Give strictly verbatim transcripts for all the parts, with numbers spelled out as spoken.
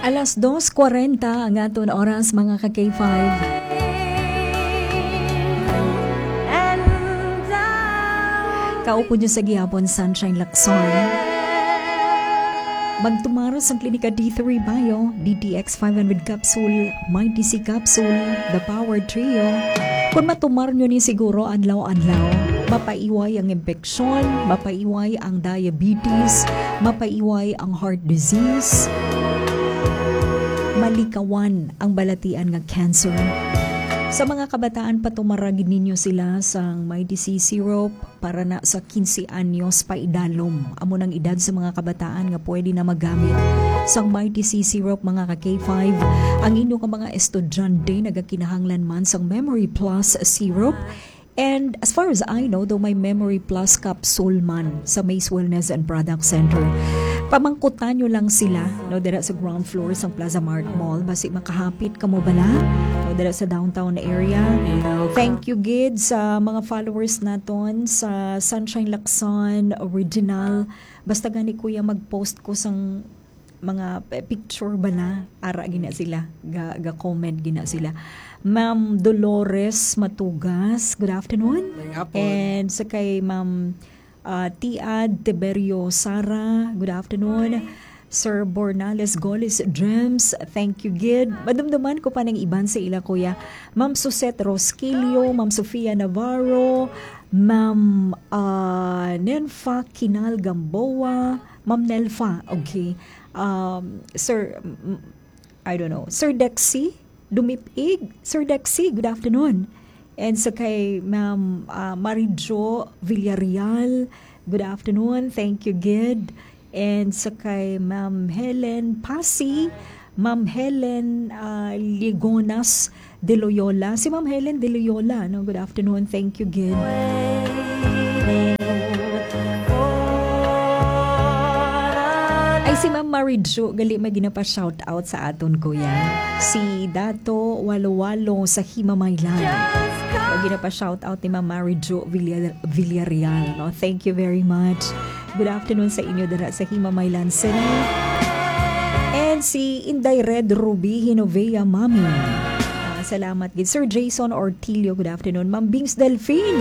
Alas dos kwarenta ang aton oras, mga ka K five. Kaupod nyo sa gihapon, Sunshine Lacson. Magtumar sang Klinika D three Bio, D T X five hundred capsule, Mighty C capsule, The Power Trio. Kung matumar nyo ni siguro adlaw-adlaw, mapaiway ang impeksyon, mapaiway ang diabetes, mapaiway ang heart disease, malikawan ang balatian nga cancer. Sa mga kabataan, patumara gid ninyo sila sang Mighty C syrup para na sa quince anyos paidalom. Amo nang edad sa mga kabataan nga pwede na magamit sang Mighty C syrup, mga ka K five. Ang inyo nga mga estudyante nagakinahanglan man sang Memory Plus syrup. And as far as I know, daw may Memory Plus capsule man sa Maze Wellness and Product Center. Pamangkutan nyo lang sila, no, dira sa ground floor sang Plaza Mart Mall. Basi makahapit kamo bala, no, dira sa downtown area. Thank you gid sa mga followers naton sa Sunshine Lacson Original. Basta gani, kuya, mag-post ko sang mga p-, picture bala, ara gina sila, ga, ga-comment gina sila. Ma'am Dolores Matugas, good afternoon. Maayong hapon. And sa kay Ma'am, ah, Tiad Tiberio Sara, good afternoon. Sir Bornales Golis Dreams, thank you gid. Madumduman ko pa ng iban sa ila, kuya. Ma'am Suzette Rosquillo, Ma'am Sofia Navarro, Ma'am, ah, Nenfa Kinal Gamboa, Ma'am Nelfa, okay. Um, Sir, m-, I don't know, Sir Dexy Dumipig, Sir Dexy, good afternoon. And sa kay Ma'am, ah, Marijo Villarreal, good afternoon. Thank you gid. And sa kay Ma'am Helen Pasi, Ma'am Helen, ah, Ligonas de Loyola. Si Ma'am Helen de Loyola, no? Good afternoon. Thank you gid. Ay, si Ma'am Marijo, gali may ginapa-shout out sa aton, kuya. Si Dato Walo Walo sa Himamaylan. May ginapa-shout out ni Ma'am Marijo Villar-, Villarreal, no? Thank you very much. Good afternoon sa inyo dira sa Himamaylan City. And si Inday Red Ruby Hinovea, Mami. Ah, salamat gid. Sir Jason Ortilio, good afternoon. Ma'am Bings Delfin,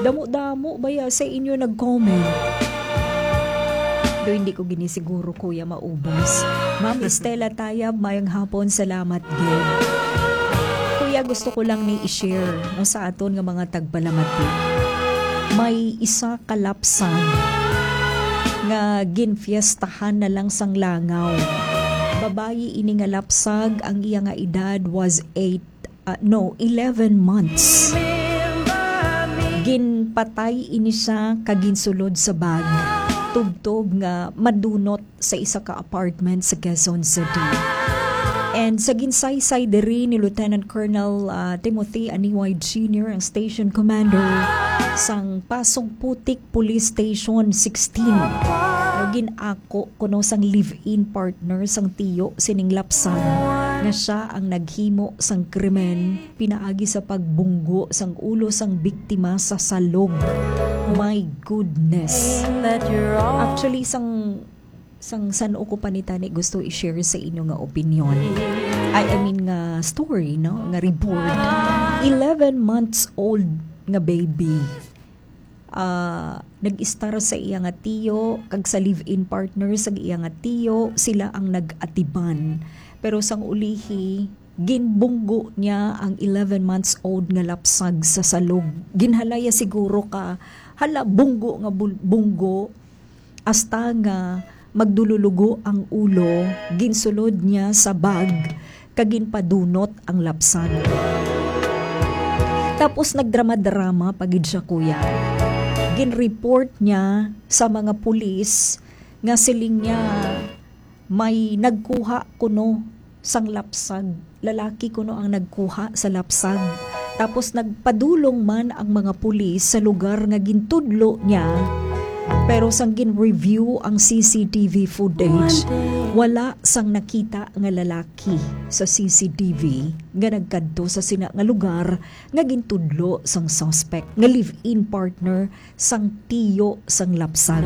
damo-damo baya sa inyo nag-comment. Do hindi ko gini siguro, kuya, maubos. Ma'am Estela Tayab, mayong hapon, salamat gid. Kuya, gusto ko lang ni i-share, no, sa aton nga mga tagpalamati. May isa ka lapsag nga ginfiestahan na lang sang langaw. Babayi ini nga lapsag, ang iya nga edad was eight, ah, no, eleven months. Ginpatay ini siya kag ginsulod sa bag, tubtob nga madunot sa isa ka apartment sa Quezon City. And sa ginsaysay diri ni Lieutenant Colonel, ah, Timothy Aniway Junior, ang station commander sang Pasong Putik Police Station sixteen, nga gin-ako kuno sang live-in partner sang tiyo sining lapsag nga siya ang naghimo sang krimen pinaagi sa pagbunggo sang ulo sang biktima sa salog. My goodness. Actually, sang, sang san-o ko pa ni tani gusto i-share sa inyo nga opinion. I, I mean nga story, no? Nga report. Eleven months old nga baby. Ah, nag-istar sa iya nga tiyo kag sa live-in partner sa iya nga tiyo, sila ang nag-atiban. Pero sang ulihi, ginbunggo niya ang eleven months old nga lapsag sa salog. Ginhalaya siguro ka, hala, bunggo nga bul-, bunggo, hasta nga magdululugo ang ulo, ginsulod niya sa bag, kag ginpadunot ang lapsag. Tapos nagdrama-drama pa gid siya, kuya. Ginreport niya sa mga pulis nga siling niya may nagkuha kuno sang lapsag. Lalaki kuno ang nagkuha sa lapsag. Tapos nagpadulong man ang mga pulis sa lugar nga gintudlo niya. Pero sang gin-review ang C C T V footage, wala sang nakita nga lalaki sa C C T V nga nagkadto sa sina nga lugar nga gintudlo sang suspect nga live-in partner sang tiyo sang lapsag.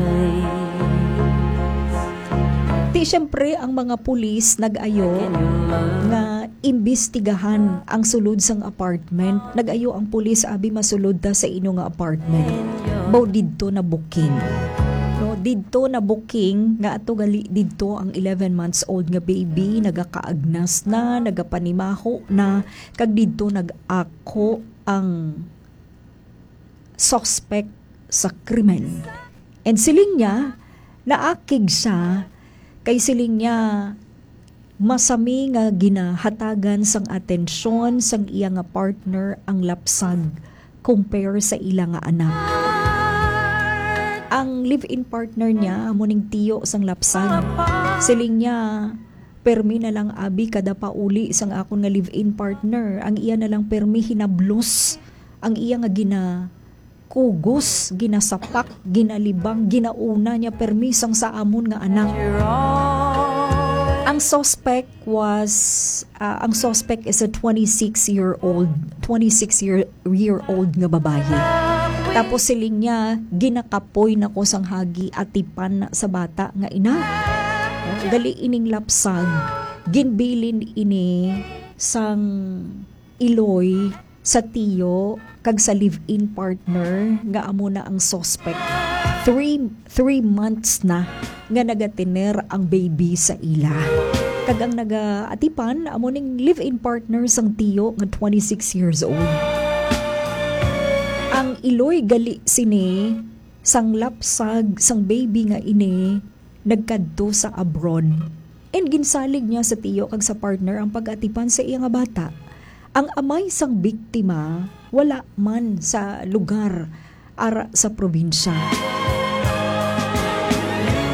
Di, syempre, ang mga pulis nag-ayo nga imbestigahan ang sulod sang apartment. Nag-ayo ang pulis, abi, masulod ta sa inyo nga apartment. Baw didto na booking. No, didto na booking nga ato gali didto ang eleven months old nga baby, nagakaagnas na, nagapanimaho na, kag didto nag-ako ang suspect sa krimen. And siling niya, naakig siya, kay siling niya, masami nga ginahatagan sang atensyon sang iya nga partner ang lapsag compare sa ila nga anak. Ang live-in partner niya, amo ning tiyo sang lapsag. Siling niya, permi na lang, abi, kada pauli sang akon nga live-in partner, ang iya na lang permi hinablos, ang iya nga ginakugos, ginasapak, ginalibang, ginauna niya permi sang sa amon nga anak. Ang suspect was, ah, ang suspect is a twenty-six year old, twenty-six year, year old nga babayi. Tapos siling niya, ginakapoy na ko sang hagi, atipan na sa bata nga ina. Gali ining lapsag, ginbilin ini sang iloy sa tiyo kag sa live-in partner nga amo na ang suspect. Three, three months na nga nagatener ang baby sa ila. Kag ang nagaatipan amo ning live-in partner sang tiyo nga twenty-six years old. Ang iloy gali sini sang lapsag sang baby nga ini nagkadto sa abroad. And ginsalig niya sa tiyo kag sa partner ang pag-atipan sa iya nga bata. Ang amay sang biktima wala man sa lugar ara sa probinsya.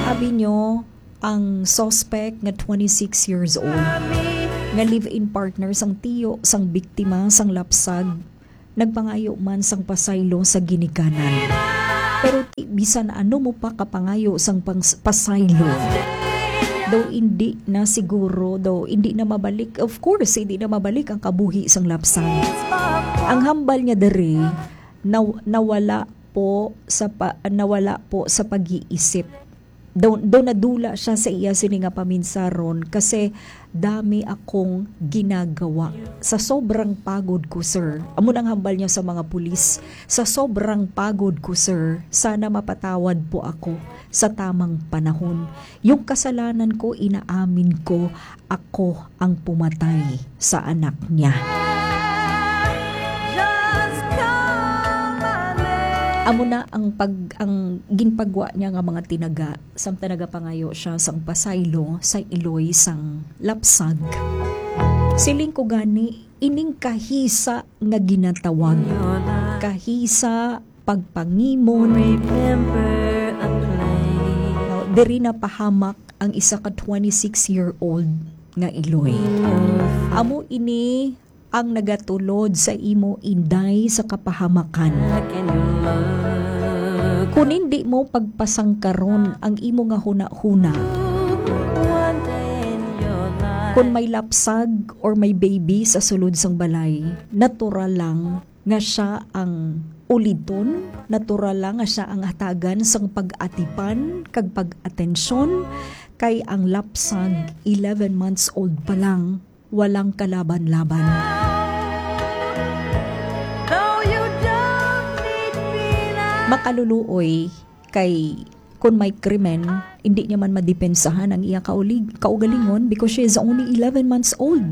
Abi nyo, ang suspect nga twenty-six years old, nga live-in partner sang tiyo sang biktima sang lapsag, nagpangayo man sang pasaylo sa ginikanan. Pero ti-, bisan ano mo pa kapangayo sang pangs-, pasaylo, daw hindi na siguro, daw hindi na mabalik. Of course, hindi na mabalik ang kabuhi sang lapsag. Ang hambal niya diri, naw-, nawala po sa pa-, nawala po sa pag-iisip. Daw, daw nadula siya sa iya sini nga paminsaron kasi dami akong ginagawa. Sa sobrang pagod ko, sir. Amo nang hambal niya sa mga pulis. Sa sobrang pagod ko, sir, sana mapatawad po ako sa tamang panahon. Yung kasalanan ko, inaamin ko, ako ang pumatay sa anak niya. Amo na ang pag-, ang ginpagwa niya nga mga tinaga, samtang nagapangayo siya sang pasaylo sa iloy sang lapsag. Siling ko gani, ining kahisa nga ginatawag, kahisa, pagpangimon. Now, diri napahamak ang isa ka twenty-six-year-old nga iloy. Amo ini ang nagatulod sa imo, Inday, sa kapahamakan. Kung hindi mo pagpasangkaron ang imo nga hunahuna, kung may lapsag or may baby sa sulod sang balay, natural lang nga siya ang uliton, natural lang nga siya ang hatagan sang pag-atipan kag pag-atensyon, kay ang lapsag, eleven months old pa lang, walang kalaban-laban. Makaluluoy kay kun may krimen, hindi niya man madepensahan ang iya kaulig-, kaugalingon because she is only eleven months old.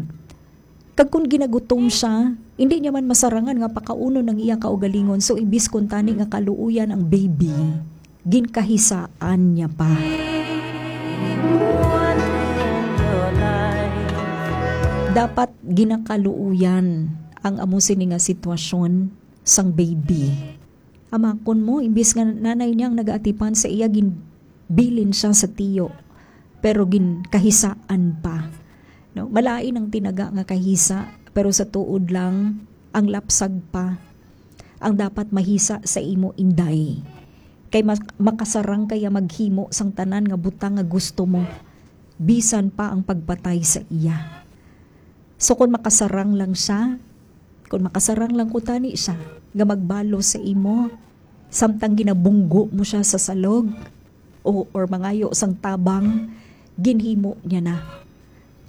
Kag kun ginagutom siya, hindi niya man masarangan nga pakaunon ang iya kaugalingon. So, imbis kuntani nga kaluoyan ang baby, ginkahisaan niya pa. Dapat ginakaluoyan ang amo sini nga sitwasyon sang baby. Amakon mo, imbis nga nanay niya ang nagaatipan sa iya, ginbilin siya sa tiyo, pero ginkahisaan pa. No? Malain ang tinaga nga kahisa, pero sa tuod lang, ang lapsag pa ang dapat mahisa sa imo, Inday. Kay mas-, makasarang kaya maghimo sang tanan nga butang nga gusto mo, bisan pa ang pagpatay sa iya. So, kung makasarang lang siya, kung makasarang lang kuntani siya, nga magbalo sa imo, samtang ginabunggo mo siya sa salog, o, or mangayo sang tabang, ginhimo niya na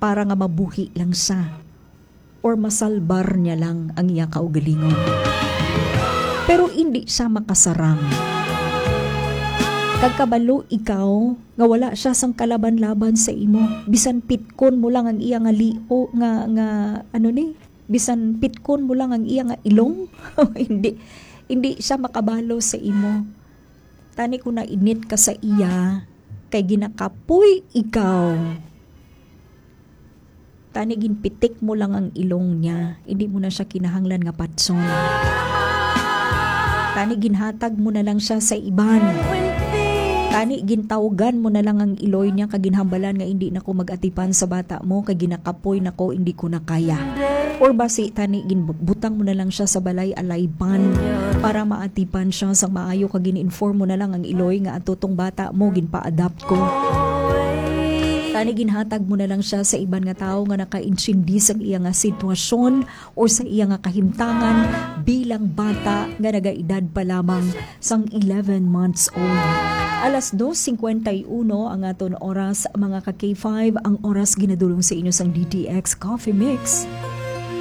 para nga mabuhi lang siya or masalbar niya lang ang iya kaugalingon. Pero hindi siya makasarang. Kag kabalo ikaw nga wala siya sang kalaban-laban sa imo. Bisan pitkon mo lang ang iya nga lio, nga, nga, ano ni? Bisan pitkon mo lang ang iya nga ilong, hindi, hindi siya makabalo sa imo. Tani kung nainit ka sa iya, kay ginakapoy ikaw. Tani ginpitik mo lang ang ilong niya, hindi mo na siya kinahanglan nga patson. Tani ginhatag mo na lang siya sa iban. Tani gintawgan mo na lang ang iloy niya, kag ginhambalan nga hindi na ko mag-atipan sa bata mo, kay ginakapoy na ko, hindi ko na kaya. Or basi tani ginbutang mo na lang siya sa balay alaypan para maatipan siya sang maayo, kag gin-inform mo na lang ang iloy nga ato tong bata mo ginpa-adopt ko. Tani ginhatag mo na lang siya sa iban nga tawo nga nakaintindi sang iya nga sitwasyon or sa iya nga kahimtangan bilang bata nga nagaedad pa lamang sang eleven months old. Alas dos cincuenta y uno ang aton oras, mga ka K five, ang oras ginadulong sa inyo sang D T X Coffee Mix.